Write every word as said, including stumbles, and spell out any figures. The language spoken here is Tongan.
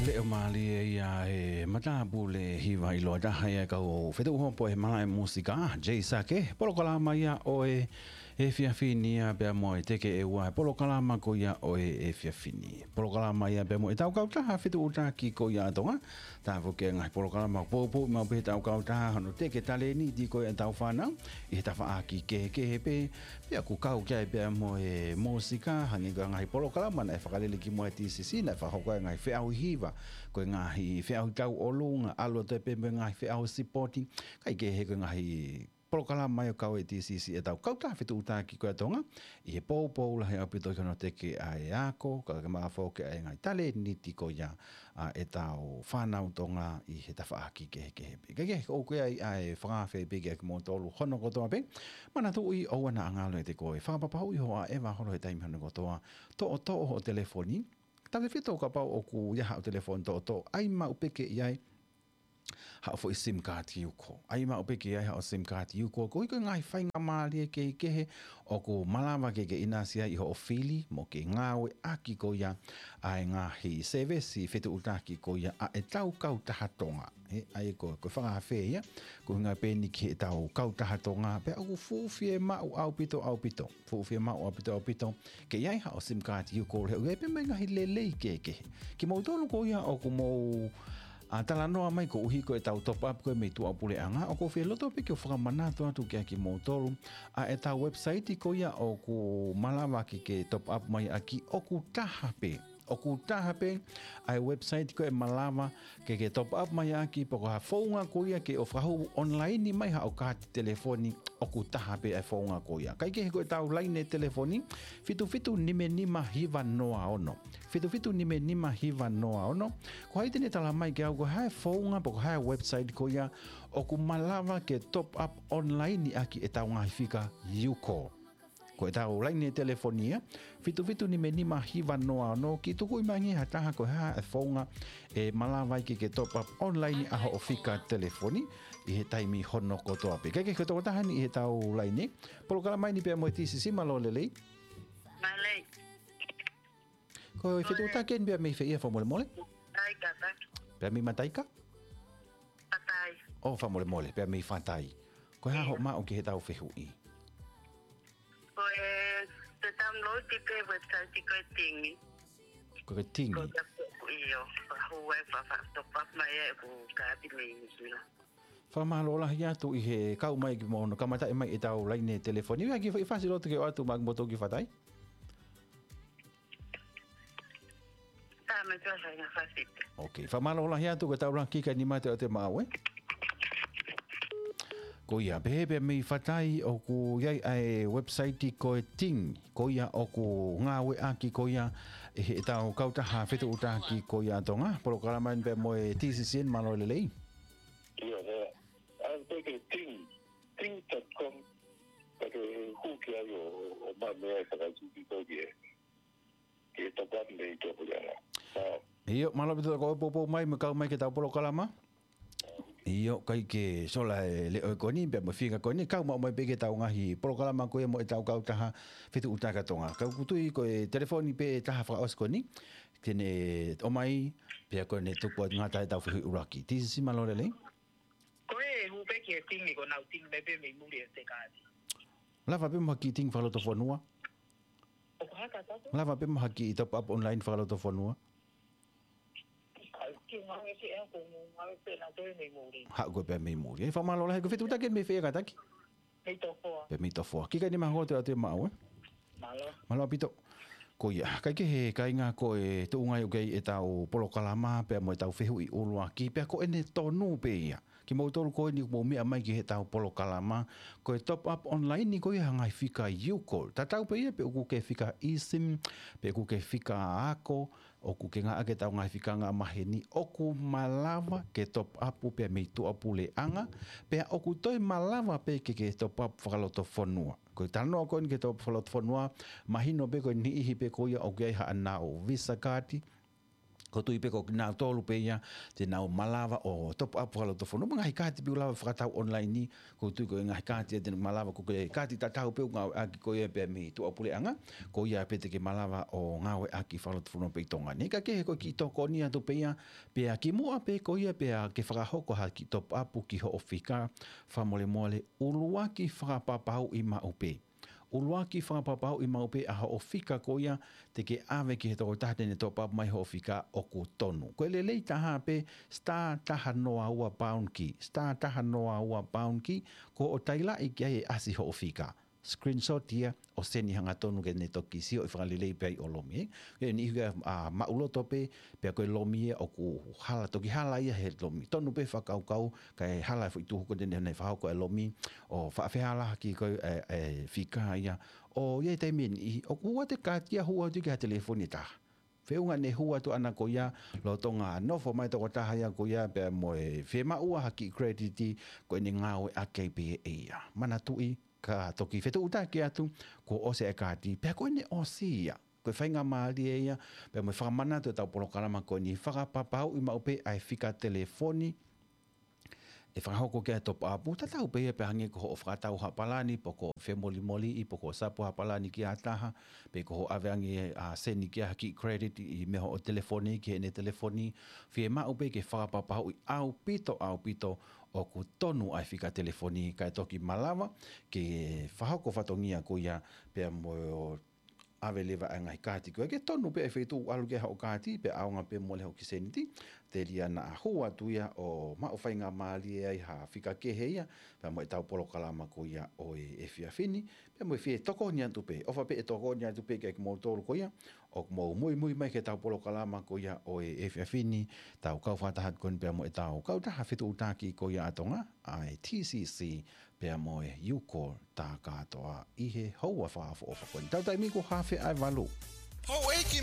Leʻo mālie ia e matāpule hiva ʻiloa taha ia kau fetuʻu hopo he malaʻe mūsika, Jay Sake, polokalama ia ʻo e efiafi ni ia pea mo e teke ʻe ua, polokalama ko ia ʻo e efiafi ni. Polokalama ia pea mo e tau kautaha fetuʻutaki ko ia ʻa Tonga, tā foki e ngaahi polokalama poupou maʻu pē he tau kautaha hono teke talēniti ko ia ʻa e tau fānau, ʻi he tafaʻaki kehekehe pē, pea ʻoku kau ki ai pea mo e mūsika, hangē ko e ngaahi polokalama naʻe fakalele ki muʻa ʻe T C C, naʻe fakahoko ai e ngaahi feʻauhi hiva, ko e ngaahi feʻauhi tauʻolunga, ʻalu atu pē mo e ngaahi feʻauhi sipoti, kae kehe ko e ngaahi polokalama ia ʻoku kau ʻe T C C e tau kautaha fetuʻutaki ko ia ʻa Tonga, ʻi he poupou lahi ʻaupito ki hono teke ʻa e ako, kae ʻumaʻā foki ʻa e ngaahi talēniti ko ia ʻa e tau fānau Tonga ʻi he tafaʻaki kehekehe pē. Kae kehe ʻoku ʻi ai ʻa e fakaafe pē kiate kimoutolu hono kotoa pē. Manatuʻi ʻoua naʻa ngalo ʻiate koe. Fakapapauʻi hoʻo ʻaʻeva holo he taimi hono kotoa. Toʻotoʻo hoʻo telefoni. Tautefito kapau ʻoku ʻi ai haʻo telefoni toʻotoʻo, ʻai maʻu pē ke ʻi ai haʻo foʻi SIM card ʻi uko. ʻAi maʻu pē ke ʻi ai haʻo SIM card ʻi uko. Koeʻuhi ko e ngaahi faingamālie kehekehe ʻoku malava ke ke ʻinasi ai ʻi hoʻo fili mo ke ngāueʻaki ko ia ʻa e ngaahi sēvesi fetuʻutaki ko ia ʻa e tau kautaha Tonga. He, ʻa ia ko, ko e fakaafe ia, ko e ʻuhinga pē eni ki he tau kautaha Tonga, pea ʻoku fuʻu fiemaʻu ʻaupito, ʻaupito. Fuʻu fiemaʻu ʻaupito, ʻaupito. Ke ʻi ai haʻo SIM card ʻi uko he ʻoku ʻi ai pē mo e ngaahi lelei kehekehe. Kimoutolu ko ia ʻoku mou ʻa, talanoa mai koeʻuhi ko e tau top up ko e mei tuʻapuleʻanga, ʻoku ou fie loto pē ke u fakamanatu atu kiate kimoutolu ʻa e tau website ko ia ʻoku malava ke ke top up mai ʻaki, ʻoku taha pē. ʻOku taha pē ʻa e website ko ē malava ke ke top up mai ʻaki, pe ko ha founga ko ia ke ʻo fakahū online mai haʻo kaati telefoni, ʻoku taha pē ʻa e founga ko ia. Kae kehe ko e tau laine telefoni, fitu fitu nima nima hiva noa ono. Fitu fitu nima nima hiva noa ono. Ko hai te ne tala mai kiate au ko e hā e founga pe ko e hā e website ko ia ʻoku malava ke top up online ʻaki e tau ngaahi fika ʻi uko. Ko e tau laine telefoni ia, fitu fitu nima nima hiva noa ono, kiʻi tukuʻi mai angé ha taha ko e hā e founga ʻe malava ai ke ke top up online ʻa hoʻo fika telefoni ʻi he taimi hono kotoa pē. Kae kehe ko e tokotaha eni ʻi he tau laine. Polokalama eni pea mo e T C C, mālō e lelei. Mālō. Ko e fetuʻutaki eni pea mei fē ia, fakamolemole? Taika, taika. Pea mei Mataika? Fatai. ʻO, fakamolemole, pea mei Fatai. Ko e hā hoʻo maʻu ki he tau fehuʻi? Ko e, te download pē website ko e Ting. Ko e Ting. Ko ia ko, ʻio, fakahū ai, fa, fa, top up mai ai ʻeku kaati mei Nuʻusila. Fakamālō lahi atu ʻi he kau mai ki mo hono kamataʻi mai e tau laine telefoni. ʻOku ʻi ai ha kiʻi fasi loto ke ʻoatu maʻa kimoutolu ki Fatai? Tā mai tua sai na fasi. Ok, fakamālō lahi atu ko e tau laki ka ni mate o te mau, ē? Ko ia, pehē pē mei Fatai ʻoku ʻi ai ʻa e website ko e Ting. Ko ia ʻoku ngāueʻaki ko ia ʻe he tau kautaha fetuʻutaki ko ia ʻa Tonga. Polokalama eni pea mo e T C C, mālō e lelei. ʻIo, ʻe. ʻAi pē ki he Ting, ting dot com, ka ke hū ki ai ʻo, ʻo maʻu mei ai e fakaesiki ko ia ke, ke top up mei tuʻapuleʻanga. Mālō. ʻIo, mālō ʻaupito ko e poupou mai mo e kau mai ki he tau polokalama. ʻIo, kae kehe sola e leʻo ko eni, pea mo e fika ko eni, kau maʻu mai pē ki he tau ngaahi polokalama ko ia mo e tau kautaha fetuʻutaki ʻa Tonga. Ka ʻoku ou tui ko e telefoni pē ʻe taha fakaʻosi ko eni, te ne ʻomai, pea ko ʻene tuku atu ngata e tau fehuʻi ʻuluaki. T C C, mālō e lelei. Ko e hū pē ki he Ting, ko ʻenau Ting mai pē mei muli e te kaati. Lava pē mo ha kiʻi Ting fakalotofonua. ʻOku hā ka tapu? Lava pē mo ha kiʻi top up online fakalotofonua. Ai, ke ngāue ke ʻea ko ngāue pē na toe mei muli. Haʻu koe pē mei muli. ʻE, fakamālō lahi, ko e fetuʻutaki mei fē ia kātaki? Mei Tofoa. Pea mei Tofoa. Kiʻi kainima hoko atu ē maʻau, ē? Mālō. Mālō ʻaupito. Ko ia, kae kehe kāinga, ko e tuʻunga ia ʻoku ʻi ai e tau polokalama pea mo e tau fehuʻi ʻuluaki, pea ko ʻene tonu pē ia. Kimoutolu ko eni ʻoku mou meʻa mai ki he tau polokalama, ko e top up online ko ia ha ngaahi fika ʻi uko. Tatau pē ia pe ʻoku ke fika eSIM, pe ʻoku ke fika ako, ʻoku ke ngāueʻaki e tau ngaahi fika ngāue maheni, ʻoku malava ke top up pea mei tuʻapuleʻanga, pea ʻoku toe malava pē ke ke top up fakalotofonua. Ko e talanoa ko eni ki he top up fakalotofonua, mahino pē ko e niʻihi pē ko ia ʻoku ʻi ai haʻanau Visa card, ʻOku ou tui pē ko kinautolu pē ia te nau malava ʻo top up fakalotofonua. Ngaahi kaati pē ʻoku lava fakatau online ni, ʻoku ou tui ko e ngaahi kaati ia te nau malava, ko e kaati tatau pē ʻoku ngāueʻaki ko ia pē mei tuʻapuleʻanga, ko ia pē te ke malava ʻo ngāueʻaki fakalotofonua pē ʻi Tonga ni. Ka kehe ko e kiʻi tokoni atu pē ia, pea kimuʻa pē ko ia pea ke fakahoko ha kiʻi top up ki hoʻo fika, fakamolemole, ʻuluaki fakapapauʻi maʻu pē. ʻUluaki fakapapauʻi maʻu pē ʻa hoʻo fika ko ia te ke ʻave ki he tokotaha te ne top up mai hoʻo fika ʻoku tonu. Ko e lelei taha pē star taha noa ua pound key. Star taha noa ua pound key, ko hoʻo tailaʻi ki ai e ʻasi hoʻo fika. Screenshot ia ʻo send hangatonu ke ne toki sio ʻi fakalelei pē ai ʻo lomi, ē. Ke ni ihu ia, a, maʻuloto pē, pea ko e lomi ia ʻoku hala, toki hala ia he lomi. Tonu pē fakakaukau, kae hala e foʻi tuhu ko ē te ne fakahoko e lomi, ʻo faʻa fehālaaki ko e, e, e fika ia. ʻO ia ʻi he taimi ni, ʻoku ʻoatu e kaati ia hū atu ki ha telefoni ʻe taha. Feʻunga ne hū atu ʻana ko ia, lolotonga nofo mai tokotaha ia ko ia, pea mo e fiemaʻu ha kiʻi credit, ko ʻene ngāueʻaki ai pē ia. Manatuʻi, ka toki fetuʻutaki atu, kuo ʻosi e kaati, pea ko ʻene ʻosi ia. Ko e faingamālie ia, pea mo e fakamanatu ʻetau polokalama ko eni, fakapapauʻi maʻu pē ʻa e fika telefoni ʻe fakahoko ki ai e top up, tatau pē ia pea hangē ko hoʻo fakatau ha palani, pe ko e femolimoliʻi, pe ko e sapu ha palani ki ha taha, pe ko hoʻo ʻave ange ʻa e send ki ai ha kiʻi credit ʻi he meʻa hoʻo telefoni ki heʻene telefoni, fiemaʻu pē ke fakapapauʻi ʻaupito, ʻaupito ʻoku tonu ʻa e fika telefoni, kae toki malava ke fakahoko fatongia ko ia pea mo ʻave leva ʻa e ngaahi kaati ko ē ke tonu pē ʻa e feituʻu ʻalu ki ai hoʻo kaati, pea ʻaonga pē mole hoʻo kiʻi seniti, telia naʻa hū atu ia ʻo maʻu faingamālie ai ha fika kehe ia, pea mo ʻetau polokalama ko ia ʻo e efiafi ni, pea mo e fie tokoni atu pē, ʻofa pē ʻe tokoni atu pē kiate kimoutolu ko ia ʻoku mou muimui mai ki heʻetau polokalama ko ia ʻo e efiafi ni, tau kau fakataha ko eni pea mo ʻetau kautaha fetuʻutaki ko ia ʻa Tonga, ʻa e T C C, pea mo e U-Call tā kātoa ʻi he houa fakaʻofoʻofa ko eni. Tau taimi kuo hafe ʻa e valu. Houʻeiki